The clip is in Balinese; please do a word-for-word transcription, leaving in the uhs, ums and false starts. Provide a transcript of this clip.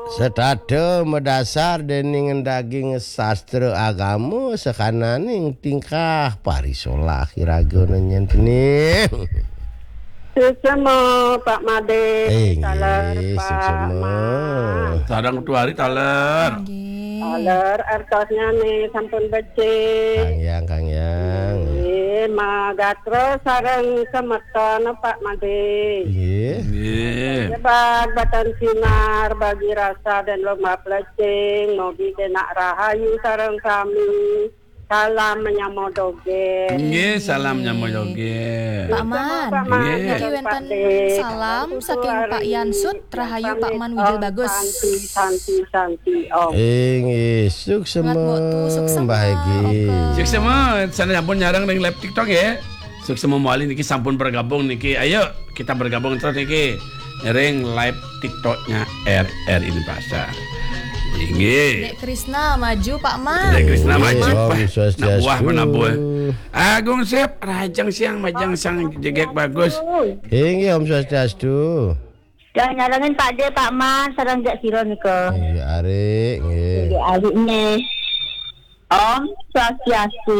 Setata madasar dening daging sastra agama sakananing tingkah parisolah iraga nyen tening. Suksema, Pak Made. Eh, taler, nggih, Pak suksema. Mat. Sareng Tuari taler. Nggih. Taler, artosnya nih sampun becik. Kang Yang, Kang Yang. Nggih, magatra sareng semeton, Pak Made. Nggih. Nggih. Nyebar batan sinar bagi rasa dan lomba pelecing, mogi kenak rahayu sareng sami. Salam menyamo doge. Nggih, salam nyamo doge. Pak Man, Pak Man, nggih. Niki wenten salam saking Pak Yansut, rahayu Pak Man Wijil Bagus. Santi, santi, santi, Om. Inggih, suksema, Mbah Egi. Oke. Suksema, sana sampun nyarang ring live TikTok ya. Suksema mawali niki sampun bergabung niki. Ayo, kita bergabung terus niki. Ring live TikToknya R R I Denpasar. Inggih. Dek Krisna maju, Pak Man. Dek Krisna maju, Pak. Om Swastiastu. Nak buah penabuh. Agung Sep, rajang siang, majang sang jegek bagus. Inggih, Om Swastiastu. Yang nyarengin Pak De, Pak Man, sareng Dek Siro nika. Inggih, arik, nggih. Inggih, arik nggih. Om Swastiastu.